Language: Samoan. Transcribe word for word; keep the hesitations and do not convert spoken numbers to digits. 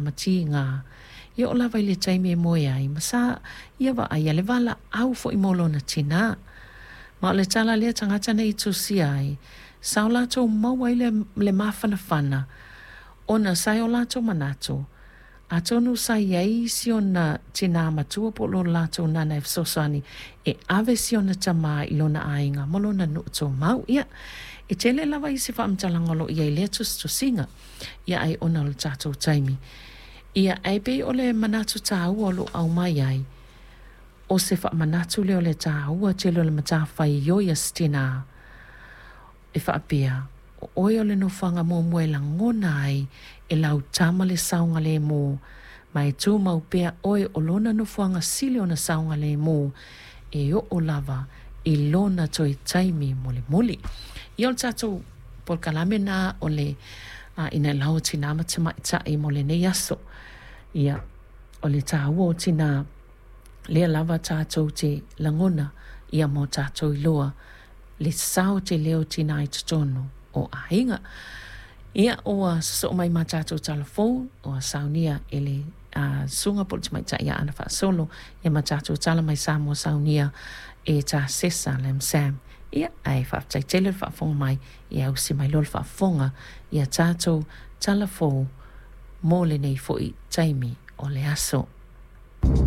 ma tiga, e oo lava i le taimi e moe ai, ma sa ia vaaia le valaau foi mo lona tinā. Ma o le tala lea tagata nei i tusia ai, sa o latou maua ai le, le mafanafana, ona sa i o latou manatu, atonu sa i ai si ona tinā matua po o lo latou nana e fesoasoani e ave si ona tamā i lona aiga ma lona nuu tumau. Ia, e tele lava isi faamatalaga o lo o i ai i lea tusitusiga, ia ai ona o le tatou taimi. Ia, ae pei o le manatu taua o lo o aumai ai, o se faamanatu lea o le taua tele o le matafaioi a se tinā e faapea, o oe o le nofoaga muamua e lagona ai e lau tama le saogalēmū, ma e tumau pea oe o lona nofoaga sili ona saogalēmū e oo lava i lona toe taimi mulimuli. Ia o le tatou polokalame lena o le Inailau o Tinā ma Tamaitai mo lenei aso. Ia, o le taua o tinā, lea lava tatou te lagona ia ma o tatou iloa le sao tele o tinā i totonu o aiga. Ia, ua sosoo mai ma tatou talafou, ua saunia e le uh, susuga po o le tamaitai ia Ana Faasolo, ia ma tatou tala mai Samoa saunia e Tasesa Lam Sam. Ia, ae faafetai tele le faafofoga mai, ia ausi mai loa le faafofoga ia tatou talafou mo lenei foi taimi o le aso.